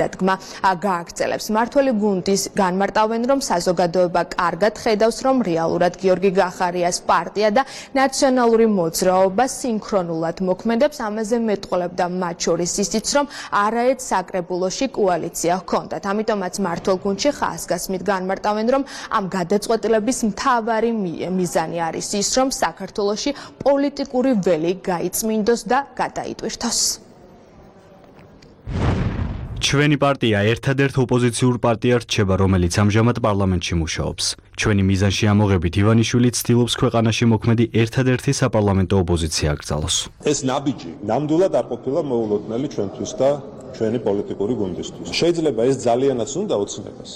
დადგმა გააგრძელებს. მმართველი გუნდის განმარტავენ, რომ საზოგადოება კარგად ხედავს, რომ რეალურად გიორგი გახარიას პარტია და ნაციონალური მოძრაობა სინქრონულად მოქმედებს. ამაზე მეტყოლებდა მათ შორის ისიც, რომ არაერთ საკრებულოში კოალიცია ჰქონდათ. ამიტომაც მმართველ გუნდში ხაზგასმით განმარტავენ, რომ ამ გადაწყვეტილების მთავარი მიზანი არის ის, რომ საქართველოში პოლიტიკური ველი გაიწმინდოს და გადაიტვირთოს. ჩვენი პარტია ერთადერთ ოპოზიციურ პარტიად რჩება, რომელიც ამჟამად პარლამენტში მუშაობს. ჩვენი მიზანში ამოღებით ივანიშვილი ცდილობს ქვეყანაში მოქმედი ერთადერთი საპარლამენტო ოპოზიცია აკრძალოს. ეს ნაბიჯი ნამდვილად არ ყოფილა მოულოდნელი ჩვენთვის და ჩვენი პოლიტიკური გუნდისთვის. შეიძლება ეს ძალიანაც უნდა ოცნებას,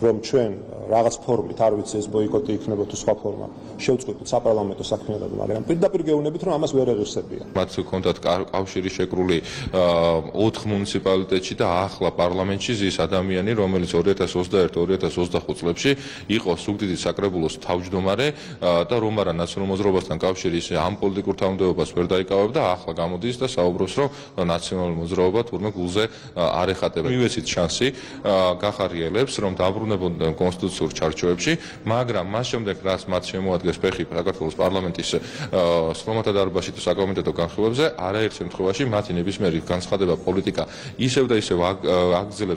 რომ ჩვენ რაღაც ფორმით, არ ვიცი ეს ბოიკოტი იქნება თუ სხვა ფორმა, შევწყვეტთ საპარლამენტო საქმიანობა, მაგრამ პირდაპირ გეუბნებით, რომ ამას ვერ ეღირსებიან. მათ ჰქონდათ კავშირი შეკრული 4 მუნიციპალიტეტში და ახლა პარლამენტში ზის ადამიანი, რომელიც 2021-2025 წლებში იყო სუგდიდის საკრებულოს თავმჯდომარე და რომ არა ნაციონალურ მოძრაობასთან კავშირი ისე ამ პოლიტიკურ თავმჯდომარებას ვერ დაიკავებდა, ახლა გამოდის და საუბრობს, რომ ნაციონალური მოძრაობა თურმე გულზე არ ეხატება. მივეცით შანსი გახარიელებს, რომ დაბრუნებოდნენ კონსტიტუციურ ჩარჩოებში, მაგრამ მას შემდეგ რაც მათ შემოადგენს ფეხი საქართველოს პარლამენტის სხდომათა დარბაზში თუ საკომიტეტო განხილვებზე, არაერთ შემთხვევაში მათი ნებისმიერი განცხადება პოლიტიკა ისევ და ისევ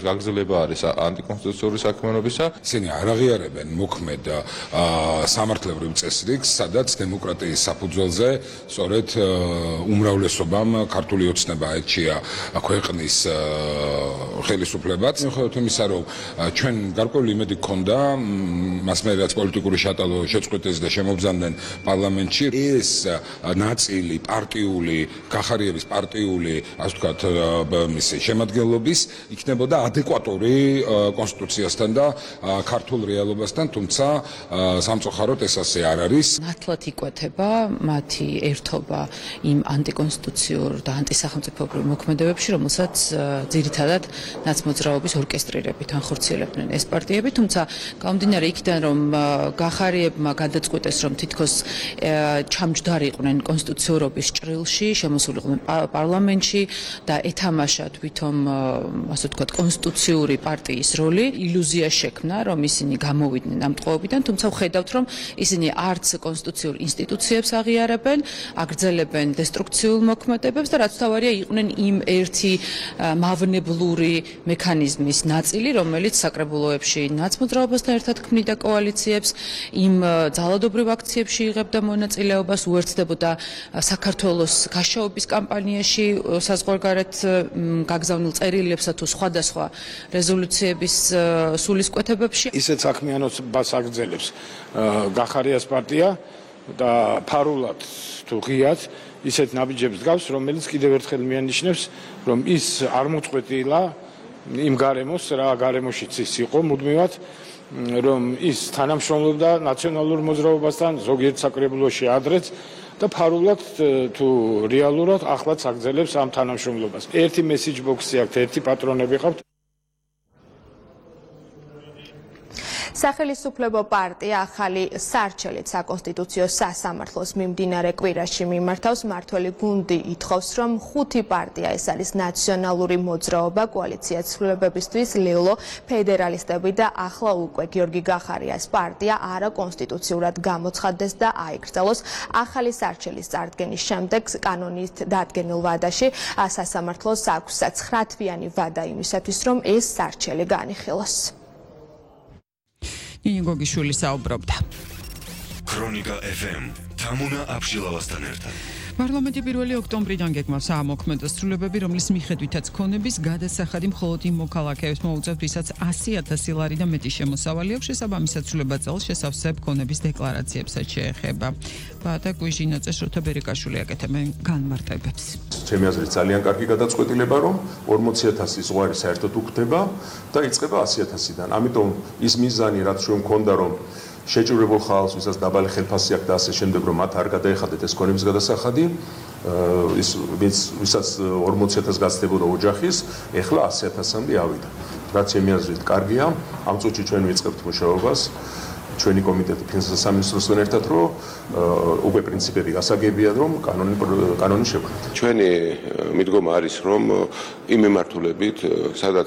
გაგრძელება არის ანტიკონსტიტუციური საქმიანობისა. ისინი არ აღიარებენ მოქმედ სამართლებრივ წესრიგს, სადაც დემოკრატიის საფუძველზე სწორედ უმრავლესობამ ქართული ოცნება აირჩია ქვეყნის ხელისუფლებას. მიუხედავად იმისა, რომ ჩვენ გარკვეული იმედი გქონდა მას მე რაც პოლიტიკური შეტალო შეწყვეტეს და შემობრძანდნენ პარლამენტში, ეს ნაწილი პარტიული გახარიების პარტიული, ასე ვთქვათ, შემადგენლობის იქნებოდა ადეკვატური კონსტიტუციასთან და ქართულ რეალობასთან, თუმცა სამწუხაროდ ეს ასე არ არის. მართლაც იკვეთება მათი ერთობა იმ ანტიკონსტიტუციურ და ანტისახელმწიფოებრივ მოქმედებებში, რომელსაც ძირითადად ნაცმოძრაობის ორკესტრირებით ანხორციელებდნენ ეს პარტიები, თუმცა გამომდინარე იქიდან, რომ გახარიებმა გადაწყვეტეს, რომ თითქოს ჩამჯდარიყვნენ კონსტიტუციურობის ჭრილში, შემოსულიყვნენ პარლამენტში და ეთამაშა თვითონ, ასე ვთქვათ, კონსტიტუციური პარტიის როლი, ილუზია შექმნა, რომ ისინი გამოვიდნენ ამ ტყვეობიდან, თუმცა ვხედავთ, რომ ისინი არც კონსტიტუციურ ინსტიტუციებს აღიარებენ, აგრძელებენ დესტრუქციულ მოქმედებებს და რაც თავარია იყვნენ იმ ერთი მავნებლური მექანიზმის ნაწილი, რომელიც საკრებულოებში ნაცმოძრაობასთან ერთად ქმნიდა კოალიციებს, იმ ძალადობრივ აქციებში იღებდა მონაწილეობას, უერთდებოდა საქართველოს გაშაობის კამპანიაში საზღვარგარეთ გაგზავნილ წერილებსა თუ სხვადასხვა რეზოლუციების სულისკვეთებებში. ისეთ საქმიანობას აგრძელებს გახარიას პარტია და ფარულად თუ ღიად ისეთ ნაბიჯებს გავს, რომელიც კიდევ ერთხელ მიანიშნებს, რომ ის არ მოწყვეტილა იმ გარემოს, რა გარემოშიც ის იყო მუდმივად, რომ ის თანამშრომლობდა ნაციონალურ მოძრაობასთან, ზოგიერთ საკრებულოში ადრეც და ფარულად თუ რეალურად ახლაც აგრძელებს ამ თანამშრომლობას. ერთი მესიჯ ბოქსი აქვს, ერთი პატრონები ყავთ. სახელისუფლებო პარტია ახალი სარჩელით საკონსტიტუციო სასამართლოს მიმდინარე კვირაში მიმართავს. მმართველი გუნდი ითხოვს, რომ 5 პარტია, ეს არის ნაციონალური მოძრაობა, კოალიცია ცვლილებებისთვის, ლელო, ფედერალისტები და ახლა უკვე გიორგი გახარიას პარტია არაკონსტიტუციურად გამოცხადდეს და აიკრძალოს. ახალი სარჩელის წარდგენის შემდეგ კანონით დადგენილ ვადაში სასამართლოს აქვს 9 თვიანი ვადა იმისათვის, რომ ეს სარჩელი განიხილოს. ნინიგოგიშვილი საუბრობდა. ქრონიკა FM თამუნა აბშილავასთან ერთად. პარლამენტი 1 ოქტომბრიდან გეგმავს საამოქმედო სრულებები, რომლის მიხედვითაც ქონების გადასახადი მხოლოდ იმ მოქალაქეებს მოუწევთ, ვისაც 100,000 ლარი და მეტი შემოსავალი აქვს. შესაბამისად სრულება წელს შესავსებ ქონების დეკლარაციებსაც შეეხება. ბადა კუიჟინა წესროთა ბერიკაშვილი აკეთებენ განმარტებებს. ჩემი აზრით ძალიან კარგი გადაწყვეტილება, რომ 40,000 ზღვარი საერთოდ უხდება და იწყება 100,000-დან. ამიტომ ის მიზანი, რაც ჩვენ მქონდა, რომ შეჭურებულ ხალხს, ვისაც დაბალი ხელფასი აქვს და ასე შემდეგ, რომ მათ არ გადაეხადეთ ეს ქონების გადასახადი, ვისაც 40,000 გაცდებოდა ოჯახის, ეხლა 100,000-მდე ავიდა. რაც ჩემი აზრით კარგია, ამ წუთში ჩვენ ვიწყებთ მუშაობას. ჩვენი კომიტეტი ფინანსთა სამინისტროსთან ერთად, რომ უკვე პრინციპები გასაგებია, რომ კანონი შექმნათ. ჩვენი მიდგომა არის, რომ იმ მიმართულებით, სადაც